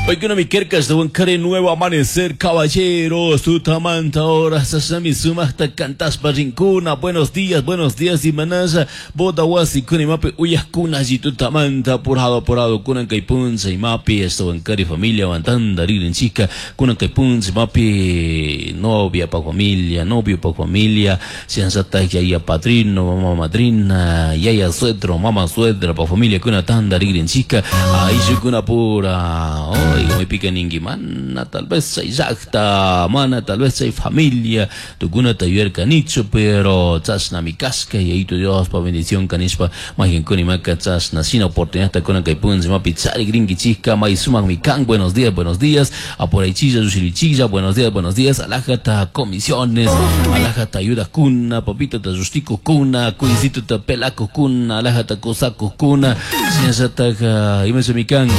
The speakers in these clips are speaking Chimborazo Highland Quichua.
Paykuna mi kerkas kare nuevo amanecer, caballeros, tutamanta horas, sasami sumaqta cantaspa rinkuna. Buenos días, imanasha, boda wasi kuni mapi uyakuna tutamanta, apurado, apurado, kunan kay puncha imapi, kari familia wantanda ririnchika, kunan kay puncha imapi novia pa familia, novio pa familia, siansata yaya padrino, mama madrina, yaya suegro, mama suegra pa familia kuna tanda ririnchika, ayllukuna pura, oy, maypika ninki mana tal vez chay llakta, mana tal vez chay familia, tukunata yuyarkanichu, pero chashnami kashka, Yayito Dios pa bendición kanishpa, mayqankuna imaka chashna shina oportunidad kunan kay puncha imapi charikrinkichikka, may sumakmi kan, buenos días, apuraychilla, llushirichilla, buenos días, alajata comisiones, alajata ayudakuna, papitata llushtikukuna, kuycituta pelakukuna, alajata kusakukuna, shinallatak imashami kan,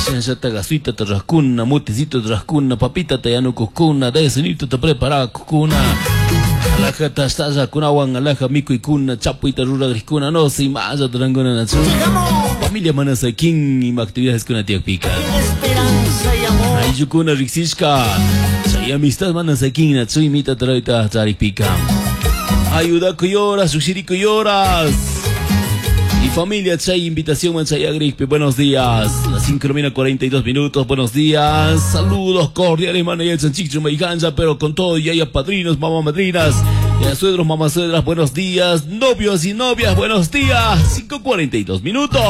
shinallatak asuitata rurakkuna, mutecito rurakkuna, papitata yanukukuna, desayunitota preparakukuna, alajata ashtallakunawan alaja mikuykuna, chapuyta rurakrikuna, no sé, imallata rurankuna nachu. Familia mana sakin ima actividades kuna tiyakpika. Esperanza y amor. Ayllukuna riksishka, chay amistad mana sakin nachu imita tarayta charikpika. Ayudakuy horas, llushirikuy horas. Y familia, chay invitación man chay agrikpi. Buenos días. Las 5 de la mañana, 42 minutos. Buenos días. Saludos cordiales, mano. Y el Sanchicho Maiganza, pero con todo, y haya padrinos, mamá madrinas, ya suegros, mamá suegras. Buenos días. Novios y novias, buenos días. 5:42 minutos.